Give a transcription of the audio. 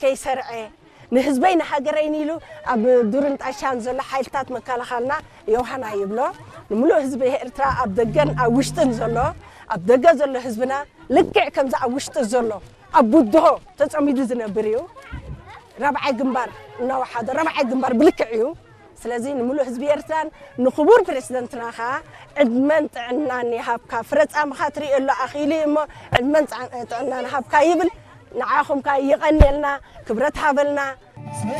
ከይሰርዐ፣ ንህዝበይ ንሃገረይን ኢሉ ኣብ ዱርን ጣሻን ዘሎ ሓይልታት መከላኸልና ዮሃና ይብሎ። ንምሉእ ህዝቢ ኤርትራ ኣብ ደገን ኣብ ውሽጥን ዘሎ፣ ኣብ ደገ ዘሎ ህዝብና ልክዕ ከምዚ ኣብ ውሽጢ ዘሎ ኣብ ቡድሆ ተጸሚዱ ዝነብር እዩ። ራብዓይ ግንባር እናወሓደ ራብዓይ ግንባር ብልክዕ እዩ። ስለዚ ንምሉእ ህዝቢ ኤርትራን ንክቡር ፕሬዝደንትና ኸኣ ዕድመን ጥዕናን ይሃብካ። ፍረጻምኻ ትርእየሉ ኣኺሉ እዩ እሞ ዕድመን ጥዕናን ይሃብካ ይብል። ንዓኹም ከኣ ይቐንየልና፣ ክብረት ሃበልና።